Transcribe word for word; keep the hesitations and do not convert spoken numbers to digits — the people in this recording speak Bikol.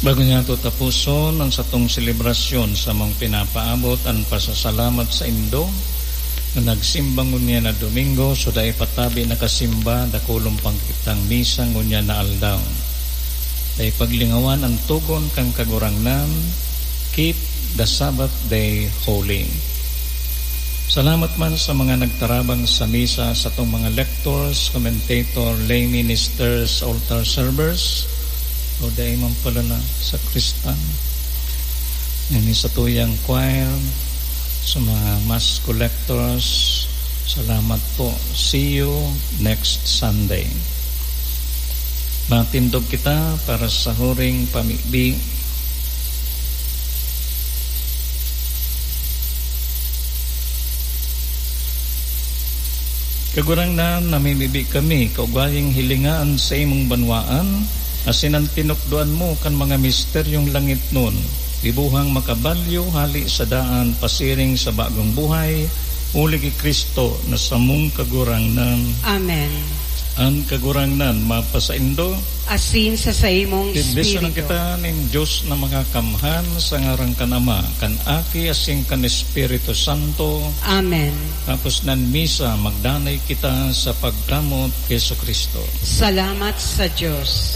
Bago niya tapuson ang satong selebrasyon, samong pinapaabot an pasasalamat saindo na nagsimba ngunyan na Domingo, so dai pa tabi nakasimba, dakulon pang kitang misa ngunyan na aldaw. Dai paglingawan an togon kan Kagurangnan, "Keep the Sabbath day holy." Salamat man sa mga nagtarabang sa misa, satong mga lectors, commentator, lay ministers, altar servers, o dai man pala na sakristan. Ini satuyang choir, sa mga mass collectors, salamat po. See you next Sunday. Matindog kita para sa huring pamibi. Kagurangnan, namimibi kami, kaugayang hilinga an saimong banwaan, asin an tinukdoan mo kan mga misteryong langitnon, gibohang makabalyo hale sa daan pasiring sa bagong buhay, huli ki Cristo na samong Kagurangnan. Amen. An Kagurangnan mapasaindo. Asin sa saimong Bendisyunan espiritu. Kita nin Dios na Makakamhan, sa ngaran kan Ama, kan Aki, asin kan Espiritu Santo. Amen. Tapos nan misa, magdanay kita sa pagkamot ki Jesu-Cristo. Salamat sa Dios.